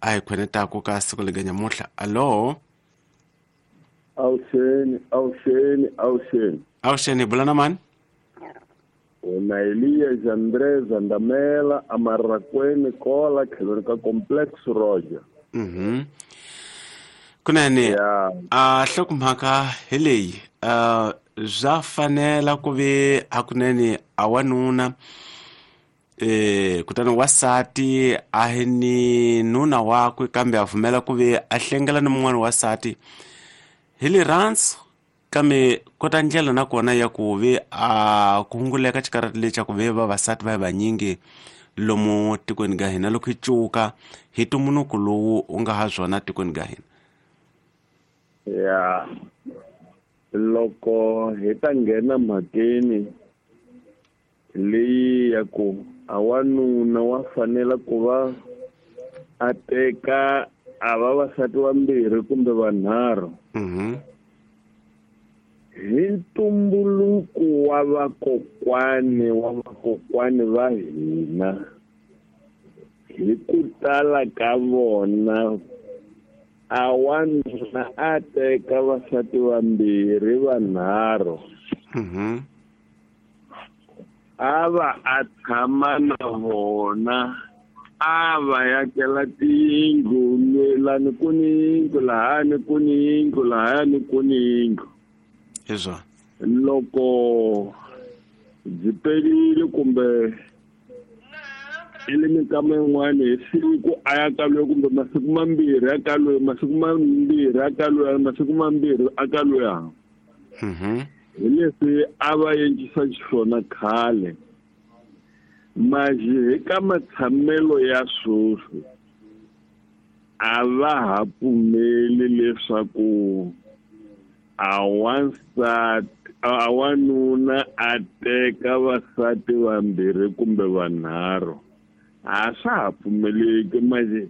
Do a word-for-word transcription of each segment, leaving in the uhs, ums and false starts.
a hi khwenetaku ka siku lega nyamuhla. Alo. Awuxeni, awuxeni, awuxeni. Awuxeni, bula na mani? Wena Elias Andrés Andamela Amarakweni Kola tlhelo ka Complex Roger. Mhm. Kunene a hlokomhaka hi leyi uh bya fanela ku ve hakunene a wanuna eh kutani wasati a hi ni nuna wakwe kambe a pfumela ku ve a hlengela ni mun'wana wasati hi rirhandzu kambe kota ndlela na kona ya ku ve a ku hunguleka xikarati lexi xa ku ve vavasati va vanyingi lomu tikweni ga hina loko hi cuka hi ntumbuluko lowu u nga ha swona tikweni ga hina. Ya loko hi ta nghena mhakeni leyi ya ku a wanuna wa fanela ku va a teka a vavasati vambirhi kumbe vanharhu. Mhm. Hi ntumbuluko wa vakokwani wa vakokwani va hina hi ku tala ka vona a wanuna a teka vasati vambirhi vanharhu. Mhm. A va a tshama na vona a va yakela tiyindlu lani ku ni yindlu lahani ku ni yindlu lahani ku ni yindlu. Izwa. Loko byi perile kumbe ile minkama yin'wana hi siku a ya ka loyi kumbe masiku mambirhi ya ka loyi masiku mambirhi ya ka loyi masiku mambirhi a ka loyi. Mhm. Hi leswi a va endlisa xiswona khale. Maji eka matshamelo ya sweswi a va ha pfumeli leswaku a wansati a wanuna a teka vasati vambirhi kumbe vanharhu. A swa ha pfumeleki manje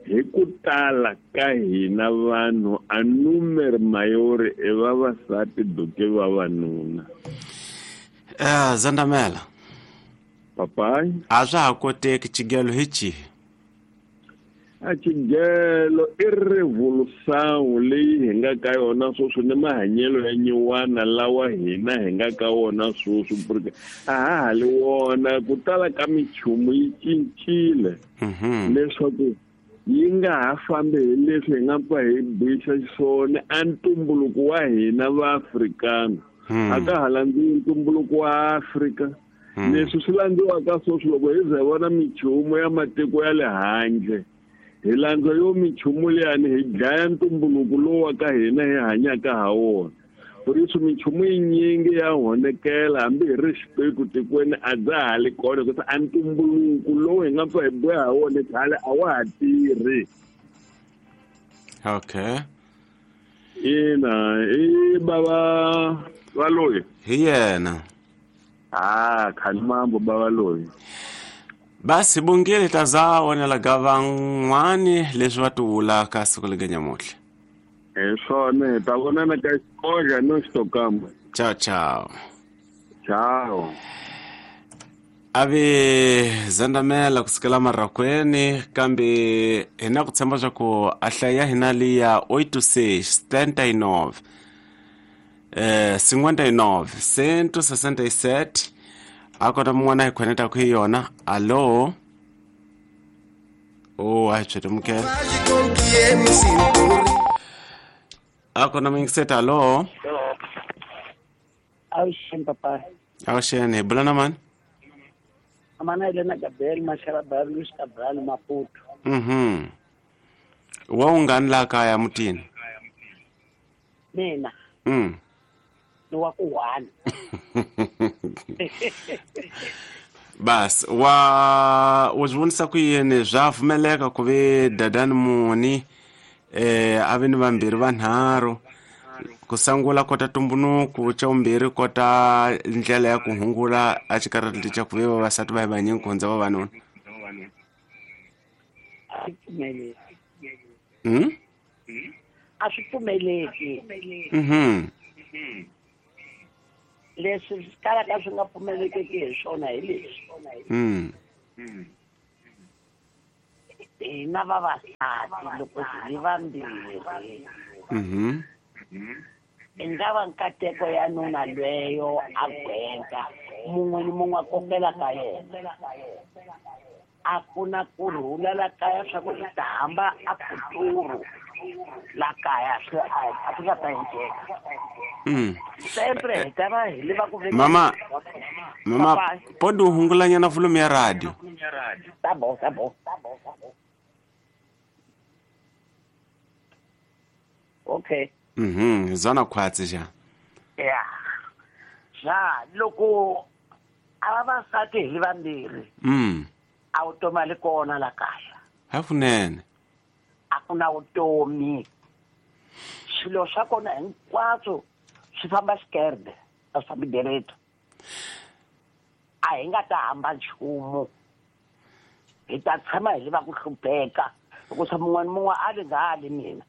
hi ku tala ka hina vanhu a numero mayori i vavasati duke vavanuna. Eh Zandamela. Papai. A swa ha koteki xigelo hi xihi? A xigelo i revolution leyi hi nga ka yona sweswi ni mahanyelo ya nyiwana lawa hina hi nga ka wona sweswi porque a ha ha li wona ku tala ka minchumu yi cincile. Leswaku yi nga ha fambi hi leswi hi nga pfa hi buisa xiswona a ntumbuluko wa hina va Afrikana. A ka ha landziwi ntumbuluko wa Afrika. Leswi swi landziwaka sweswi loko hi ze vona minchumu ya matiko ya le handle hi landza yo minchumu liyani hi dlaya ntumbuluko lowu wa ka hina hi hanyaka ha wona. Ku minchumu yinyingi ya honekela hambi hi ri xipeku tikweni a bya ha li kona hikuva a ntumbuluko lowu hi nga pfa hi boha ha wona khale a wa ha tirhi. Okay. Ina i bava va loyi hi yena. Ah khalimambo bava loyi. Basi bungile taza wona la van'wani leswi va tivulaka siku lega nyamuhla. Hi swona hi ta vonana ka xikoxa no xitokamba. Ciao ciao. Ciao. Ave Zandamela kusukela Marakweni kambe hi na ku tshemba swa ku a hlaya hina liya oito seis setenta e nove eh cinquenta e nove cento sessenta e sete a kota mun'wana hi khoneta ku hi yona. Alo. Oh a hi tshetemukela. A kona mingiseta. Alo. Awuxeni papa. Awuxeni, hi bula na mani? Amana Elena Gabriel Masharabara Luis Cabral Maputo. Mhm. Wa ungani la kaya mutini? Mina. Mm. Ni wa ku one. Bas wa u swi vonisa ku yini swa pfumeleka ku ve dadani muni eh a ve ni vambirhi vanharhu ku sangula kota tumbunuku xa vumbirhi kota ndlela ya ku hungula a xikarhi xa ku ve vavasati va hi vanyingi ku hundza vavanuna. A swi pfumeleki. Mm? A swi pfumeleki. Mhm. Leswi swi kalaka swi nga pfumelekeki hi swona hi leswi. Mm. Hina vavasati loko hi ri vambirhi mhm i nga va nkateko ya nuna lweyo a gwenga mun'we ni mun'we a kokela ka yena a ku na kurhula la kaya swa ku i ta hamba a futuru la kaya swi a swi nga ta endleka mm sempre hi ta va hi lava ku mama mama podi u hungulanyana volume ya radio tá bom tá bom okay mhm zona khwatsi ja ya ja loko a vavasati hi vambirhi mm a vutomi a li kona la kaya hakunene a ku na vutomi swilo swa kona hinkwaswo swi famba xikerde a swi fambi direto a hi nga ta hamba nchumu hi ta tshama hi lava ku hlupheka hikusa mun'we ni mun'we a li nga ali mina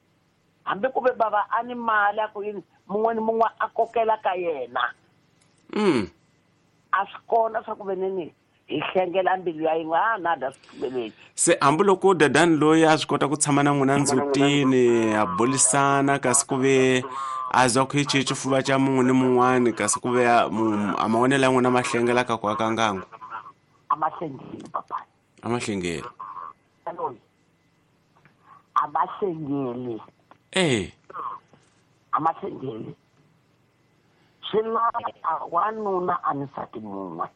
hambi ku ve bava a ni mali a ku yini mun'we ni mun'we a kokela ka yena mm a swi kona swa ku ve nini hi hlengela mbilu ya yin'we a nada swi pfumeleki se hambiloko dadani loyi a swi kota ku tshama na n'wina ndzutini a bulisana kasi ku ve a zwa ku hi xihi xifuva xa mun'we ni mun'wani kasi ku ve a mavonelo ya n'wina ma hlengela ka ku aka ngangu a ma hlengeli papa a ma hlengeli loyi a ma hlengeli eh a ma hlengeli swi lava wanuna a ni nsati mun'we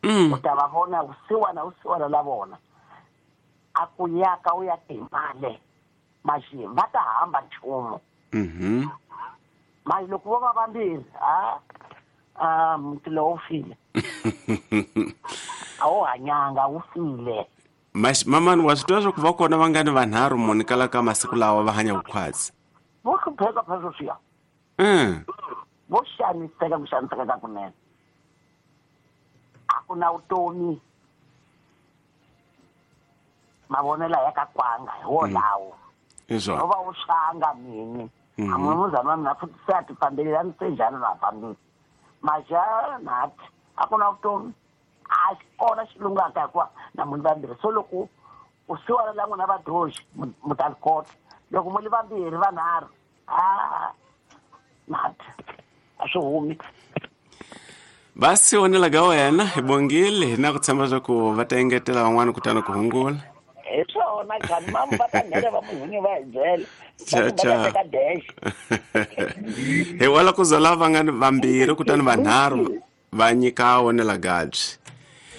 mm u ta va vona vusiwana vusiwana la vona a ku yaka u ya timale maxi va ta hamba nchumu mhm mali loko vo va vambirhi a a muti lowu file a wu hanyanga wu file Mas mamani wa swi tiva swa ku va kona va nga ni vanharhu muni kala ka masiku lawa va hanya vukhwatsi vo hlupheka phela sweswiya mm vo xaniseka ku xaniseka ka kunene a ku na vutomi mavonelo ya ka kwanga hi wolawo hi swona no va wu xanga mini Mhm. a munhu wa mina futhi se a ti fambeli a ni se njhani na fambile maxa nathi a ku na vutomi a xi kona xi lungaka hikuva na munhu vambirhi so loko u siwana la n'wina vadoxi mu ta li kota loko mu li vambirhi vanharhu a nathi a swi humi va si vonela ka wena hi bongile hi na ku tshemba swa ku va ta engetela van'wani kutani ku hungula hi swona khani mamu va ta nghena va munhunyi va hi byela Cha, va ta cha. teka dash hi wala ku za lava nga ni vambirhi kutani vanharhu va nyika wonela gabyi